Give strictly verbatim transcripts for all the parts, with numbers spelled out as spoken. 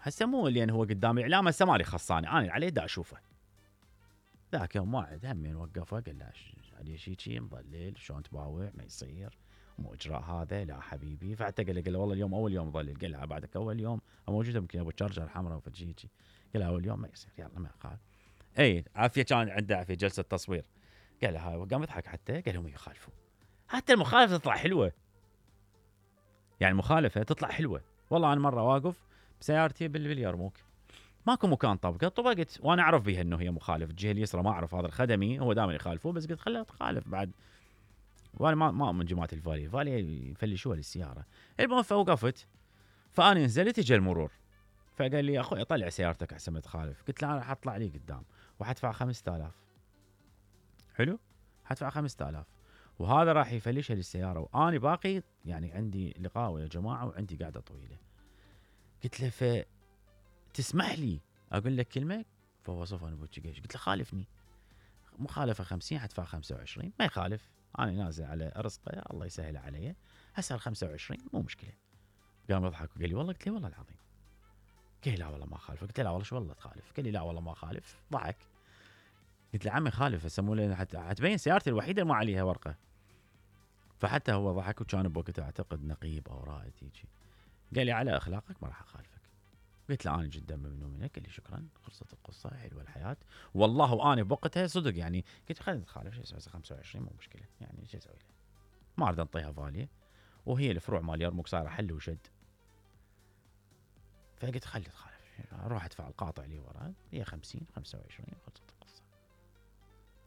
هسه مو لان هو قدام الاعلام، هسه مالي خصاني انا عليه دا اشوفه. ذاك يوم واحد همين وقفه قال له علي شي شي مضلل شلون تباوع ما يصير مو اجراء هذا لا حبيبي. فحتى قال له قال له والله اليوم اول يوم مضلل. قال له بعدك اول يوم موجوده يمكن ابو تشارجر حمراء وفشي شي. قال له اول يوم ما يصير يلا ما قال. اي عافيه كان عنده عافيه جلسه تصوير. قال له هاي قام يضحك حتى قال لهم يخالفوا. حتى المخالفه تطلع حلوه. يعني المخالفه تطلع حلوه. والله انا مره واقف بسيارتي باليرموك ماكو مكان طبقه طبقت وانا اعرف بها انه هي مخالف الجهه اليسرى ما اعرف هذا الخدمي هو دائما يخالفوه بس قلت خلها تخالف بعد. وانا ما ما من جماعه الفالي الفالي يفلشوها للسياره. المهم فوقفت فانا نزلت اجى المرور فقال لي اخوي طلع سيارتك احسن ما تخالف. قلت له انا راح اطلع لي قدام وحدفع خمسة آلاف. حلو حدفع خمسة آلاف وهذا راح يفلشها للسياره وانا باقي يعني عندي لقاء ويا جماعه وعندي قاعده طويله. قلت له ف تسمح لي اقول لك كلمه؟ فهو صف انا بوجهي قلت له خالفني مخالفه خمسين حدفع خمسة وعشرين ما يخالف انا نازل على رزقه الله يسهل علي هسه خمسة وعشرين مو مشكله. قام يضحك وقال لي والله. قلت له والله العظيم. قال لا والله ما خالف. قلت له لا والله شو والله تخالف. قال لي لا والله ما خالف. ضحك. قلت له عمي خالف هسه مو لين حتبين سيارتي الوحيده اللي ما عليها ورقه. فحتى هو ضحك وكان بوقتها اعتقد نقيب او رائد هيجي. قال لي على اخلاقك ما راح اخالفك. قلت له انا جدا ممنون منك. قال لي شكرا خلصت القصه حلوه الحياه والله. وانا بوقتها صدق يعني قلت خلينا نتخالف شو اسوي خمسة وعشرين مو مشكله يعني شو اسوي له ما اريد انطيها فاليه وهي الفروع مال يرموك صايره حل وشد. فقلت خلي تخالف اروح ادفع القاطع اللي وراه هي خمسين خمسة وعشرين خلصت القصه.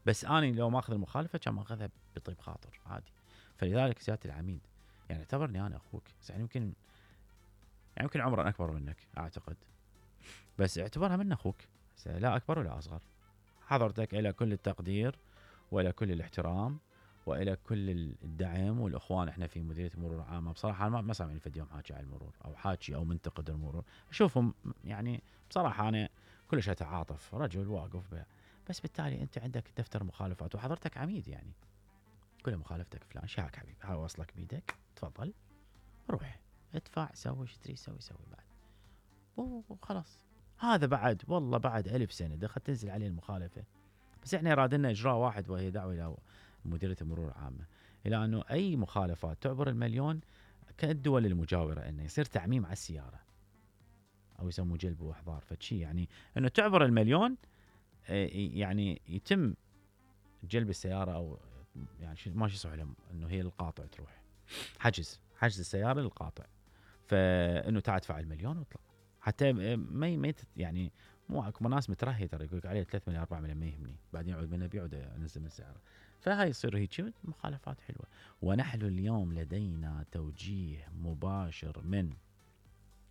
بس انا لو ماخذ المخالفه كان ماخذها بطيب خاطر عادي. فلذلك سياده العميد يعني اعتبرني انا اخوك يعني يمكن يعني يمكن عمرا اكبر منك اعتقد بس اعتبرها من اخوك لا اكبر ولا اصغر. حضرتك الى كل التقدير والى كل الاحترام والى كل الدعم والاخوان. احنا في مديريه المرور العامه بصراحه انا ما سامعني في يوم حاكي على المرور او حاكي او منتقد المرور اشوفهم يعني بصراحه انا كلش اتعاطف رجل واقف به. بس بالتالي انت عندك دفتر مخالفات وحضرتك عميد يعني كل مخالفتك فلان شاك حبيبي هاي وصلك بيدك تفضل روح ادفع سوي ايش تريد سوي سوي بعد وخلاص. هذا بعد والله بعد ألف سنة دخل تنزل عليه المخالفة. بس احنا رادنا إجراء واحد وهي دعوة إلى مديرية المرور العامة إلى أنه أي مخالفات تعبر المليون كالدول المجاورة أنه يصير تعميم على السيارة أو يسموه جلب وإحضار فشي يعني أنه تعبر المليون يعني يتم جلب السيارة أو يعني ما شي يصح لهم أنه هي للقاطع تروح حجز حجز السيارة للقاطع فإنه تعال تدفع المليون واطلع. حتى ما ما يعني مو اكو ناس مترهي ترى يقول لك عليه ثلاثة مليون أربعة مليون ما يهمني بعدين يعود منه بيعود انزل من سعره. فهاي يصير هيك مخالفات حلوه. ونحن اليوم لدينا توجيه مباشر من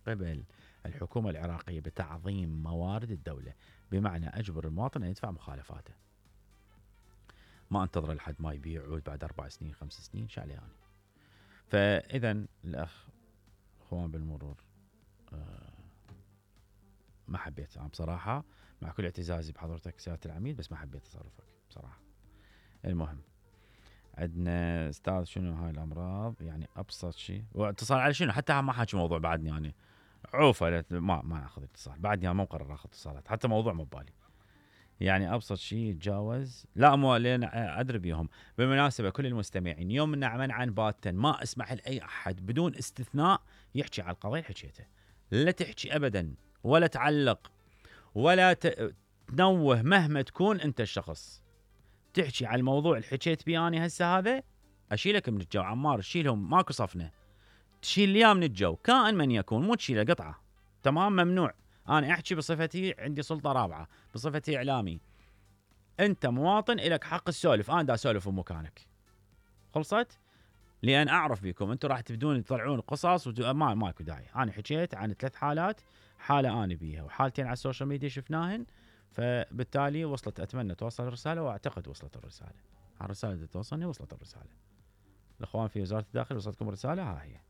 قبل الحكومه العراقيه بتعظيم موارد الدوله بمعنى اجبر المواطن ان يدفع مخالفاته ما انتظر لحد ما يبيع يعود بعد اربع سنين خمس سنين شو عليه يعني. فاذا الاخ اخوان بالمرور آه ما حبيت انا بصراحه مع كل اعتزازي بحضرتك سياده العميد بس ما حبيت تصرفك بصراحه. المهم عندنا استاذ شنو هاي الامراض يعني ابسط شيء واتصال على شنو حتى ما حاكي موضوع بعدني يعني عوفه ما ما اخذ اتصال بعدني انا ما مقرر اخذ اتصالات حتى موضوع مو ببالي يعني ابسط شيء يتجاوز لا مو لين ادري بيهم. بالمناسبه كل المستمعين يوم نعمل عن باتا ما اسمح لاي احد بدون استثناء يحكي على القضيه اللي حكيته لا تحكي ابدا ولا تعلق ولا تنوه مهما تكون انت الشخص تحكي على الموضوع اللي حكيت بيه انا هسه هذا اشيلك من الجو عمار شيلهم ماكو صفنه تشيل لي من الجو كائن من يكون مو تشيله قطعه تمام ممنوع. انا احكي بصفتي عندي سلطه رابعه بصفتي اعلامي انت مواطن لك حق السولف انا دا اسولف بمكانك خلصت لان اعرف بيكم انتم راح تبدون تطلعون قصص وما ماكو داعي. انا حكيت عن ثلاث حالات حاله انا بيها وحالتين على السوشيال ميديا شفناهن فبالتالي وصلت اتمنى توصل الرساله واعتقد وصلت الرساله. الرساله اللي توصلني وصلت الرساله. الاخوان في وزاره الداخل وصلتكم الرساله ها هي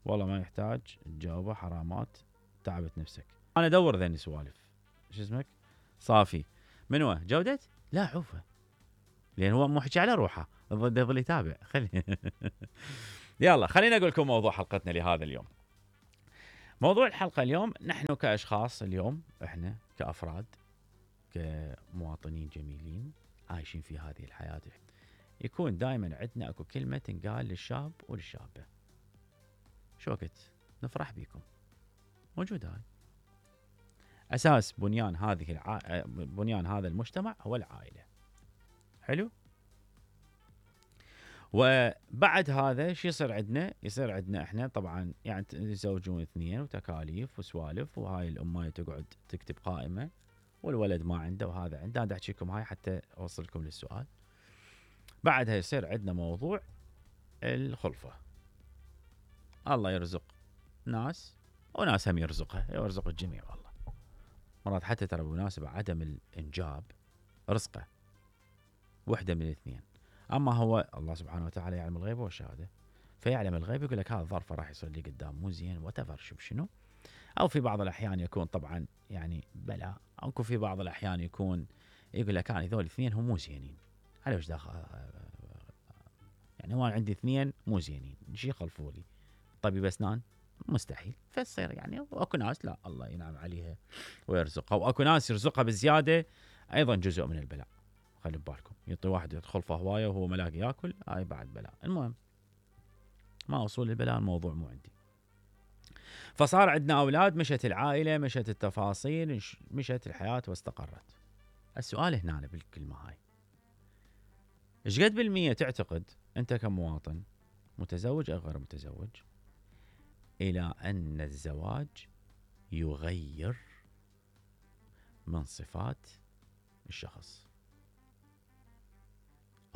والله ما يحتاج تجاوبه حرامات تعبت نفسك. انا ادور ذني سوالف شو اسمك صافي من هو جوده لا عوفه لان هو مو حكي على روحه ضد يظل يتابع خلي يلا خلينا اقول لكم موضوع حلقتنا لهذا اليوم. موضوع الحلقة اليوم، نحن كأشخاص اليوم احنا كأفراد كمواطنين جميلين عايشين في هذه الحياة، يكون دائما عندنا اكو كلمة تنقال للشاب وللشابة، شو وقت نفرح بيكم، موجودة هاي. أساس بنيان هذه الع... بنيان هذا المجتمع هو العائلة. حلو. وبعد هذا شو يصير عندنا؟ يصير عندنا احنا طبعا يعني يتزوجون اثنين وتكاليف وسوالف، وهاي الأماية تقعد تكتب قائمة والولد ما عنده وهذا عنده. أنا أحكي لكم هاي حتى أوصلكم للسؤال. بعدها يصير عندنا موضوع الخلفة. الله يرزق ناس وناس هم يرزقها، يرزق الجميع والله. مرات حتى ترى بمناسبة عدم الإنجاب رزقه، وحدة من الاثنين. أما هو الله سبحانه وتعالى يعلم الغيب والشهادة، فيعلم الغيب يقول لك هذا الظرف راح يصير لي قدام مو زين وتفر شو بشنو. أو في بعض الأحيان يكون طبعا يعني بلا، أو في بعض الأحيان يكون يقول لك أنا ذول الاثنين هم مو زينين، على وش داخل يعني هو عندي اثنين مو زينين شي يخلفوا لي طبيب أسنان مستحيل. فتصير يعني واكو ناس لا الله ينعم عليها ويرزقها، واكو ناس يرزقها بالزياده ايضا جزء من البلاء. خلي ببالكم يعطي واحد يدخل هوايه وهو ملاقي ياكل، هاي بعد بلاء. المهم ما اصول البلاء، الموضوع مو عندي. فصار عندنا اولاد، مشت العائله، مشت التفاصيل، مشت الحياه واستقرت. السؤال هنا بالكلمه هاي، ايش قد بالمية تعتقد انت كمواطن متزوج او غير متزوج إلى أن الزواج يغير من صفات الشخص؟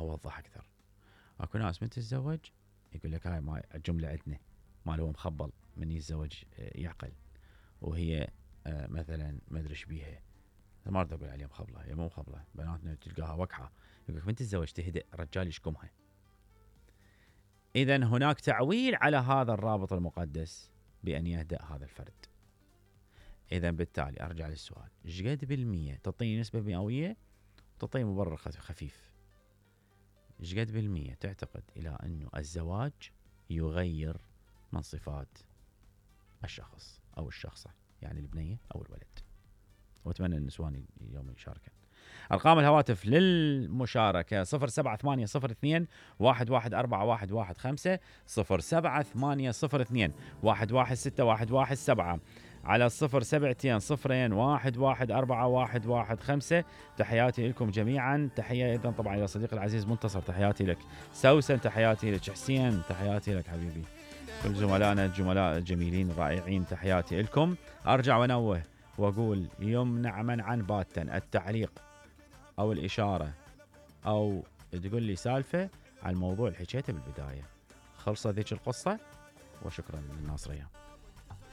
أوضح أكثر. أكو ناس من تتزوج يقول لك هاي ما الجملة عندنا مال هو مخبل من يتزوج يعقل، وهي مثلا ما أدري إيش بيها، ما أريد أقول عليها مخبلة، هي مو مخبلة، بناتنا تلقاها وقحة، يقول لك من تتزوج تهدئ رجال يشكمها. إذن هناك تعويل على هذا الرابط المقدس بأن يهدأ هذا الفرد. إذا بالتالي أرجع للسؤال، إيش قد بالمية تعطيني نسبة مئوية وتعطيني مبرر خفيف؟ إيش قد بالمية تعتقد إلى أنه الزواج يغير من صفات الشخص أو الشخصة، يعني البنية أو الولد؟ وأتمنى النسوان اليوم يشاركن. أرقام الهواتف للمشاركة صفر سبعة ثمانية صفر اثنين واحد واحد أربعة واحد واحد خمسة، صفر سبعة ثمانية صفر اثنين واحد واحد ستة واحد واحد سبعة، على الصفر سبعتين صفرين واحد واحد أربعة واحد واحد خمسة. تحياتي لكم جميعا. تحية أيضا طبعا إلى صديقي العزيز منتصر، تحياتي لك. سوسن تحياتي لك. حسين تحياتي لك حبيبي. كل زملائنا الجملاء الجميلين الرائعين تحياتي لكم. أرجع ونوه وأقول يمنع منعا باتا التعليق أو الإشارة أو تقول لي سالفة على الموضوع اللي حكيته بالبداية. خلصت ذيك القصة وشكرا للناصرية.